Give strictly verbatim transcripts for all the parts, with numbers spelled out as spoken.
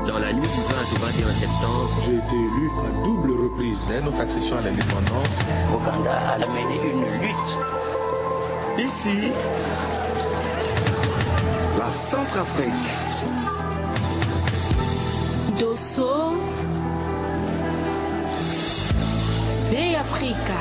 Dans la nuit du vingt au vingt et un septembre, j'ai été élu à double reprise. Dès notre accession à l'indépendance, Ouganda a mené une lutte. Ici, la Centrafrique. Dosso, Bêafrika.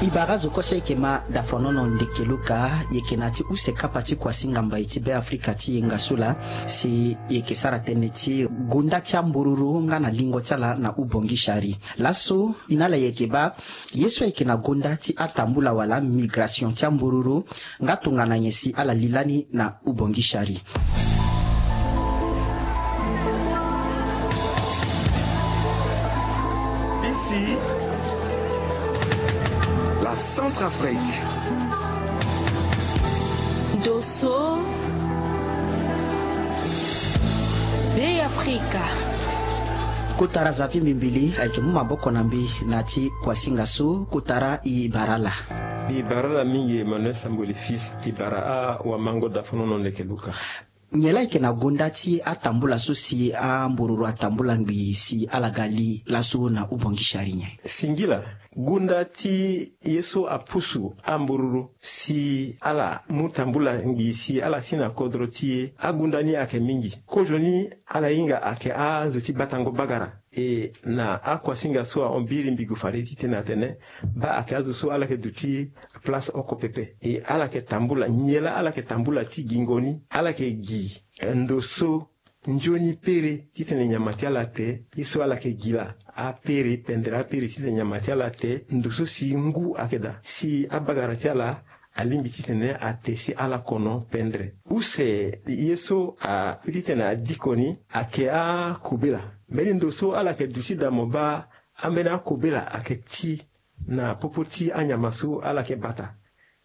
E bara azo kue so ayeke ma Dafanono Ndekeluka, e yeke na ya ti use kapa ti kuasinga mbai ti Bêafrika ti yenga so laa, si e yeke sara tënë ti gonda ti ambururu nga na lingo ti ala na Ubongi Sari. Laso e na ala e yeke baa ye so ayeke na gonda ti atambula wala migration ti ambururu, nga tongana nyen si ala li lani na Ubongi Sari. Ici, la Centrafrique. Dosso, Bêafrika. Kotara Xavier Mbimbili ayeke mu maboko na mbi na ya ti kuasinga so. Kotara, e bara ala. E bara ala mingi Emmanuel Samboli Fils, e bara awamango Dafanono Ndekeluka. Nyen laa ayeke na gonda ti atambula so si ambururu atambula ngbii si ala ga li laso na Ubongi Sari nyen? Singila, gonda ti ye so apusu ambururu si ala mu tambula ngbii si ala si na kodro ti e, agonda ni ayeke mingi. Kozo ni ala hinga ayeke azo ti batango bagara. E na akuasinga so ahon biri mbi gue fade titene atene baa ayeke azo so ala yeke duti place oko pepe. E ala yeke tambula, nyen laa ala yeke tambula ti gingo ni? Ala yeke gi, eh, ndo so nzoni pere titene nyama ti ala te. Ye so ala yeke gi laa, apere pendere apere titene nyama ti ala te. Ndo so si ngu ayeke daa si abagara ti ala alingbi titene ate si ala kono pendere. Use ye so a titene adiko ni ayeke akobela. Mbeni ndo so ala yeke duti daa mo baa ambeni akobela ayeke ti na popo ti anyama so ala yeke bata.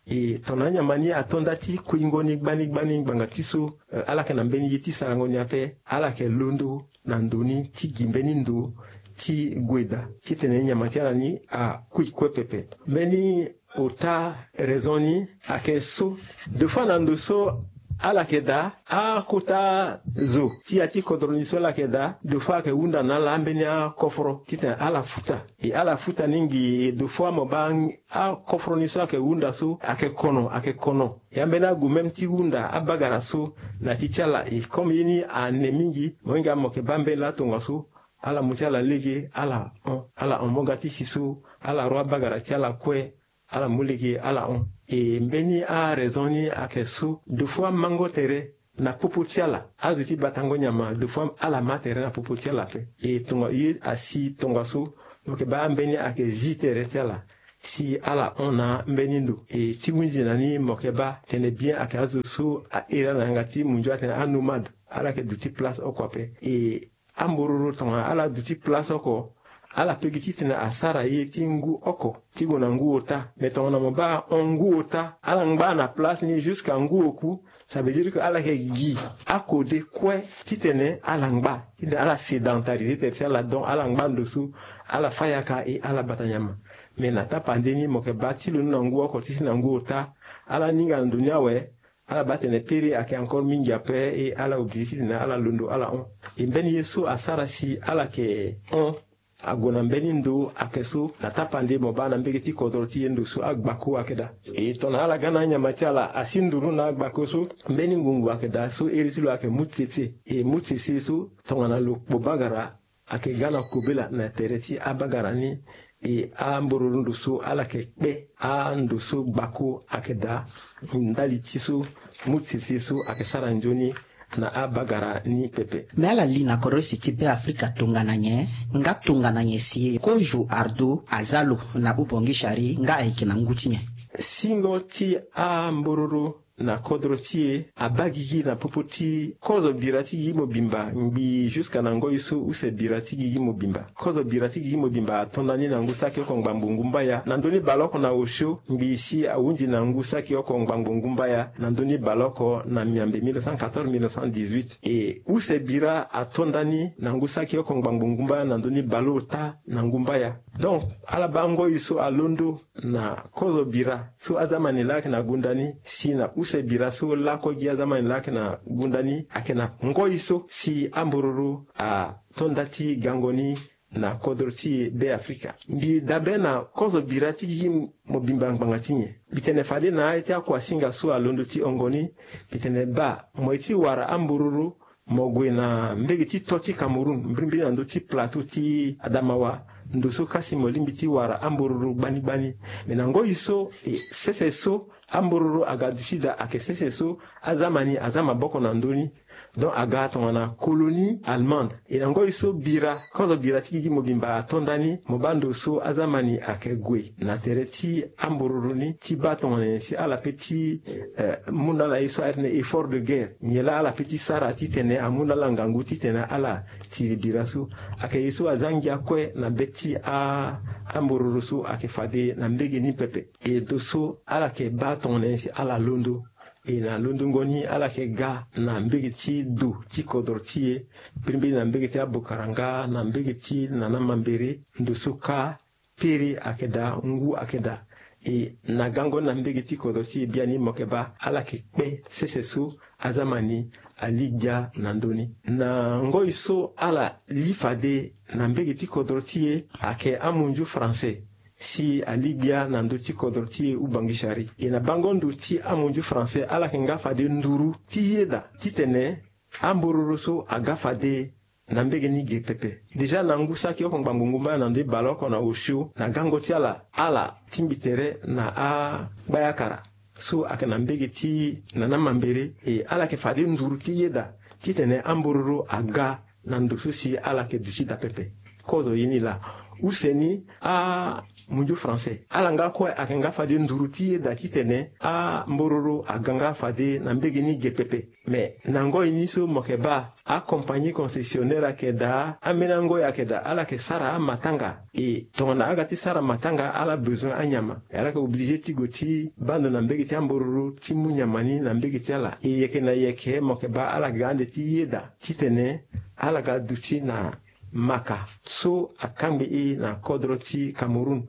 E tongana anyama ni ato nda ti kuingo ni gbani gbani ngbanga ti so, eh, ala yeke na mbeni ye ti sarango ni ape, ala yeke londo na ndo ni ti gi mbeni ndo ti gue daa titene nyama ti ala ni akui kue pepe. Mbeni ota raison ni ayeke so, deux fois na ndo so ala yeke daa, akota zo ti ya ti kodro ni so ala yeke daa, deux fois ayeke hunda na ala ambeni akoforo titene ala futa. E ala futa ni ngbii, e deux fois mo baa akoforo ni so ayeke hunda so ayeke kono, ayeke kono. Ya mbeni ague même ti hunda abagara so na ti ti ala. E comme ye ni ane mingi, mo hinga mo yeke baa mbeni laa tongaso ala mu ti ala lege, ala hon, ala hon mo ga ti si so, ala ro abagara ti ala kue, ala mu lege, ala hon. E mbeni araison ni ayeke so, deux fois mango tere na popo ti ala, azo ti batango nyama, deux fois ala ma tere na popo ti ala ape. E tonga ye asi tongaso, mo yeke baa ambeni ayeke zi tere ti ala si ala hon na mbeni ndo. E ti hunzi na ni mo yeke baa tene bien ayeke azo so ahere ala na yanga ti munzu atene anomade, ala yeke duti place oko ape. E ambororo tongana ala duti place oko, ala pe gi titene asara ye ti ngu oko ti gue na ngu ota. Me tongana mo baa ahon ngu ota, ala ngba na place ni jusqu'à ngu oku, ça veut dire que ala yeke gi akode kue titene ala ngba, titene ala sédentariser tere ti ala, donc ala ngba ndo so ala fa yaka e ala bata nyama. Me na tapande ni mo yeke baa ti londo na ngu oko ti si na ngu ota, ala ninga na ndo ni awe, ala baa tene pere ayeke encore mingi ape, e ala obligé titene ala londo ala hon. E mbeni ye so asara si ala yeke hon ague na mbeni ndo ayeke so, na tapande mo baa na mbege ti kodro ti e ndo so agbako ayeke daa. E tongana ala ga na anyama ti ala asi nduru na agbako so, mbeni ngungu ayeke daa so iri ti lo ayeke mu tsetse. E mu tsetse so tongana lo kpo bagara ayeke ga na kobela na tere ti abagara ni. E ambororo ndo so ala yeke kpe ando so gbako ayeke daa ndali ti so mu tsetse so ayeke sara nzoni na abagara ni pepe. Me ala li na kodro use ti Beafrika tongana nyen, nga tongana nyen si kozo ardo aza lo na Ubongi Sari, nga ayeke na ngu ti nyen? Singo ti ambororo na kodro ti e abaa gigi na popo ti kozo bira ti gigi mobimba ngbii jusqu'à na ngoi so use bira ti gigi mobimba. Kozo bira ti gigi mobimba ato ndani na ngu saki oko ngbangbo ngumbaya na ndö ni baleoko na osio, ngbii si ahunzi na ngu saki oko ngbangbo ngumbaya na ndö ni baleoko na miambe mille neuf cent quatorze mille neuf cent dix-huit. E use bira ato ndani na ngu saki oko ngbangbo ngumbaya na ndö ni baleota na ngumbaya. Donc ala baa ngoi so alondo na kozo bira so aza mani laa ayeke na gonda ni si na use Use bira so lakue gi azamani laa ayeke na gunda ni ayeke na ngoi so si ambororo ato nda ti gango ni na kodro ti e Be Afrika. Mbi dabe na kozo bira ti gigi mobimba ngbanga ti nyen? Mbi tene fade na aye ti akuasinga so alondo ti hongo ni, mbi tene baa mo ye ti wara ambororo mo gue na mbege ti to ti Cameroun, mbirimbiri na ndö ti plateau ti Adamawa, ndo so kasi mo lingbi ti wara ambororo gbani gbani. Me na ngoi so e sese so ambororo aga duti daa ayeke sese so azamani aza maboko na ndö ni. Donc aga tongana colonie allemande. E na ngoi so bira kozo bira ti gigi mobimba ato nda ni mo baa ndo so azamani ayeke gue na tere ti ambororo ni ti baa tongana nyen si ala pe ti eh, mu na ala ye so airi na effort de guerre. Nyen laa ala pe ti sara titene amu na ala ngangu titene ala tiri bira so? Ayeke ye so aza ngia kue na be ti a ambororo so ayeke fade na mbege ni pepe. E ndo so ala yeke baa tongana nyen si ala londo. E na londongo ni ala yeke ga na mbege ti do ti kodro ti e, mbirimbiri na mbege ti Abokaranga, na mbege ti Nana Mambere, ndo so ka pere ayeke daa, ngu ayeke daa. E na gango ni na mbege ti kodro ti e biani mo yeke baa ala yeke kpe sese so azamani ali gbia na ndö ni. Na ngoi so ala li fade na mbege ti kodro ti e ayeke amunzu français si ali gbia na ndö ti kodro ti e Ubangishari. E na bango ndo ti amunzu français ala yeke nga fade nduru ti yeda titene ambororo so aga fade na mbege ni ge pepe. Déjà na ngu saki oko ngbangbo ngu mba na ndö ti baleoko na osio na gango ti ala, ala tingbi tere na agbayakara so ayeke na mbege ti Nana Mambere. E ala yeke fade nduru ti yeda titene ambororo aga na ndo so si ala yeke duti daa pepe. Kozo ye ni laa. Use ni amunzu français ala nga kue ayeke nga fade nduru ti yeda titene ambororo aga nga fade na mbege ni ge pepe. Me na ngoi ni so mo yeke baa acompagnie concessionnaire ayeke daa, ambeni angoi ayeke daa, ala yeke sara amatanga. E tongana aga ti sara matanga ala bezoin anyama, e ala yeke oblige ti gue ti baa ndo na mbege ti ambororo ti mu nyama ni na mbege ti ala. E yeke na yeke mo yeke baa ala ga ande ti yeda titene ala ga duti na maka so akangbi e na kodro ti Cameroun.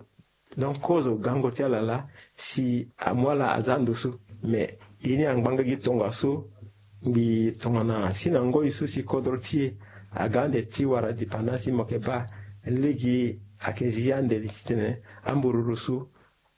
Donc kozo gango ti ala laa si amu ala aza ndo so. Mais ye ni angbanga gi tongaso. Mbi tongana si na ngoi so si kodro ti e aga ande ti wara dipanda si mo yeke baa lege ayeke zi ande li titene ambororo so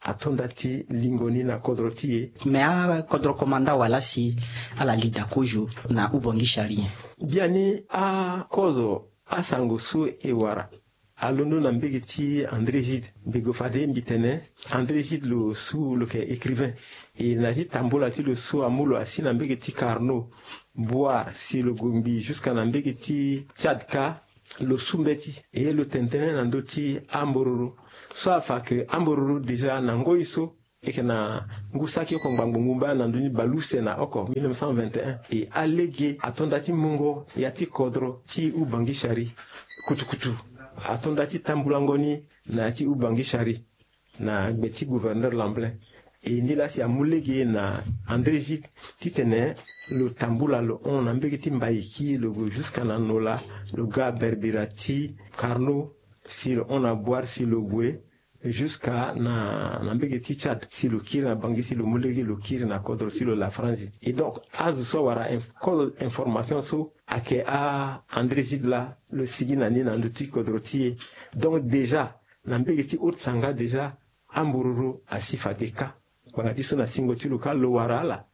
ato nda ti lingo ni na kodro ti e. Me akodro komanda wala si ala li daa kozo na Ubangishari nyen? Biani akozo asango so e wara alondo na mbege ti André Gide. Mbi gue fade mbi tene André Gide lo su lo yeke écrivain. E na ya ti tambula ti lo so amu lo asi na mbege ti Carnot, Bouar si lo gue ngbii jusqu'à na mbege ti Tchad ka, lo su mbeti. E lo tene tënë na ndö ti ambororo so afa ke ambororo déjà na ngoi so e yeke na ngu saki oko ngbangbo ngu mba na ndö ni baleuse na oko mille neuf cent vingt et un. E alege ato nda ti mungo ya ti kodro ti Ubangishari kutukutu. Ato nda ti tambulango ni na ya ti Ubangishari na gbe ti gouverneur Lamblin. E ni laa si amu lege na André Gide titene lo tambula lo hon na mbege ti Mbaiki, lo gue jusqu'à na Nola, lo ga berbira ti Carnot, si lo hon na Bouar si lo gue jusqu'à na, na mbege ti Tchad, si lo kiri na Bangui, si lo mu lege lo kiri na kodro ti lo la Franzi. Et donc azo so awara inf-, kozo information so ayeke a André Gide laa, lo sigi na ni na ndö ti kodro ti e. Donc déjà na mbege ti Haute-Sangha déjà ambororo asi fade kâ. Ngbanga ti so na singo ti lo kâ lo wara ala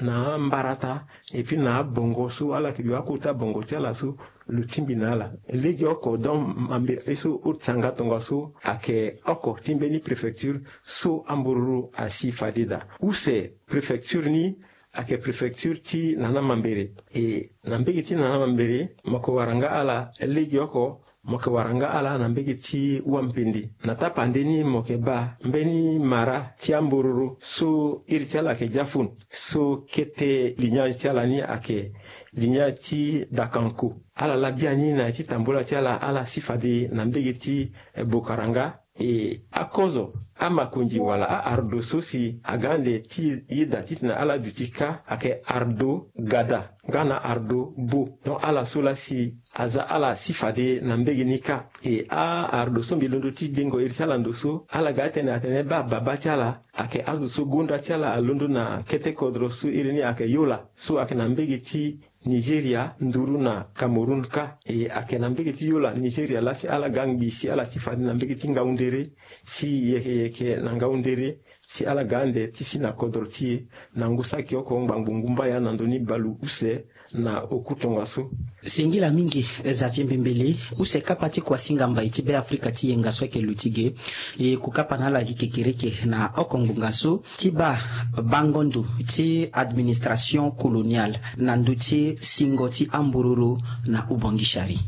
na ambarata, et puis na abongo so ala yeke yo akota bongo ti ala so lo tingbi na ala. Lege oko donc mambe ye so Haute-Sangha tongaso ayeke oko ti mbeni préfecture so ambororo asi fade daa. Use préfecture ni ayeke préfecture ti Nana Mambere. E na mbege ti Nana Mambere mo yeke wara nga ala lege oko, mo yeke wara nga ala na mbege ti Wampende. Na tapande ni mo yeke baa mbeni mara ti ambororo so iri ti ala ayeke Diafun, so kete lignage ti ala ni ayeke lignage ti Dakanko. Ala laa biani na ya ti tambula ti ala, ala si fade na mbege ti, eh, Bokaranga. E akozo amakonzi wala a-ardo so si aga ande ti yeda titene ala duti kâ ayeke ardo gada nga na ardo bo. Donc ala so laa si aza ala si fade na mbege ni kâ. E a-ardo so mbi londo ti dengo iri ti ala ndo so ala ga atene atene baa babâ ti ala ayeke azo so gonda ti ala alondo na kete kodro so iri ni ayeke Yola so ayeke na mbege ti Nigeria nduru na Cameroun kâ. E ayeke na mbege ti Yola Nigeria laa si ala ga ngbii si ala si fade na mbege ti ngaundere si yeke yeke na ngaundere si ala ga ande ti si na kodro ti e na ngu saki oko ngbangbo ngu mbaya na ndö ni baleuse na oku tongaso. Singila mingi Xavier Mbembele, use kapa ti kuasinga mbai ti Beafrika ti yenga so ayeke luti ge. E ku kapa na ala gi kekereke na oko ngbonga so ti baa bango ndo ti administration coloniale na ndö ti singo ti ambororo na Ubangishari.